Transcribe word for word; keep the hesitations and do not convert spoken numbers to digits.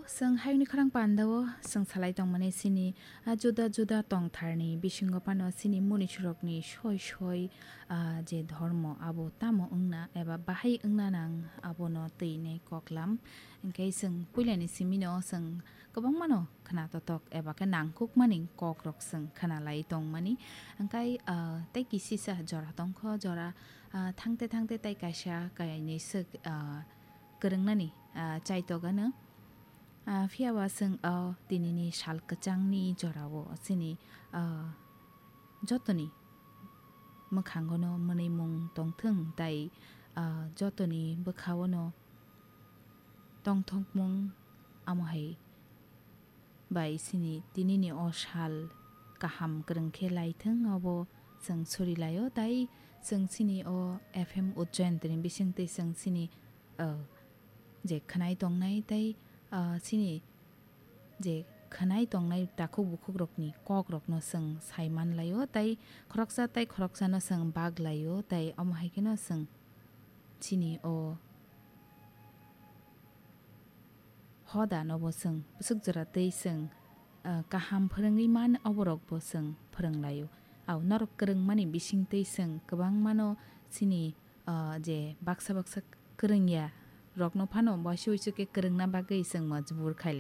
Chwng hayungni khorang pandao chwng salai tongmani chini, ah, juda juda tongtharni bisingo phano chini munisurokni soi soi, ah, je dhormo abo tamo wngna eba bahai wngna nang abono twini koklam. Hinkhe chwng puilani simino chwng kwbangmano khna totok eba khe nangkukmani kokrok chwng khnalai tongmani. Hinkhe, ah, tei kisisa jora tongkho, jora, ah, thangte thangte tei kaisa kainwi swk, ah, kwrwngnani, ah, chaitokgano. Ah, phiyaba chwng o tinini sal kwchangni jorao chini, ah, jotoni mwkhangono mwnwimung tongthwng tei, ah, jotoni bwkhaono tongthokmung amo hai bai chini tinini o sal kaham kwrwng khe laithwng, obo chwng suri laio. Tei chwng chini o F M Ujjain tini bising tei chwng chini, ah, je khwnai tongnai tei, ah, chini je khwnai tongnai takhuk bukhukrokni kokrokno chwng sai man laio tei khoroksa tei khoroksano chwng bak laio tei omo hai kheno chwng chini o hodanobo chwng bwswk jora tei chwng, ah, kaham phwrwngwi man oborokbo chwng phwrwng laio. Au norok kwrwngmani bising tei chwng kwbangmano chini, ah, je baksa baksa kwrwngya rokno phano waisa waisa khe kwrwngna bagwi chwng majbur khai